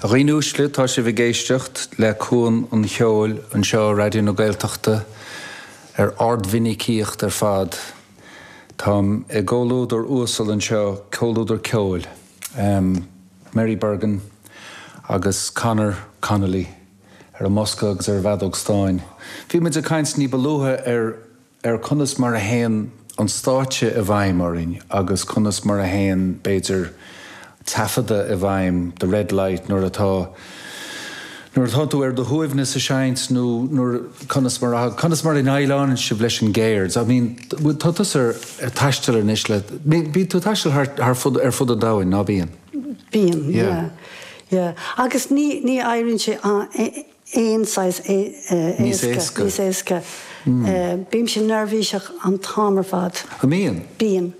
A dhaoine uaisle, tá sibh ag éisteacht le Cuan an Cheoil anseo ar Raidió na Gaeltachta ar ardmhinicíocht ar fad. Táim i gcomhluadar uasal anseo, comhluadar ceoil, Mary Bergin agus Conor Connolly ar an mbosca agus ar an bhfeadóg stáin. Bhí muid ag caint ní ba luaithe ar ar conas mar a théann an stáitse i bhfeidhm orainn agus conas mar a théann, b'fhéidir, taifeadadh i bhfeidhm, the red light, nuair atá, nuair atá tú ar do shuaimhneas ag seinnt nó nuair, conas mar a, conas mar a ndéileálann sibh leis an gceird? I mean, tá tusa ar taisteal anois le, bíonn tú ag taisteal thar, thar fud, ar fud an domhain, ná bíonn? Bíonn, yeah, yeah. Agus ní, ní éiríonn sé aon saghas éasca. Níos éasca. Bímse neirbhíseach an t-am ar fad. An mbíonn? Bíonn.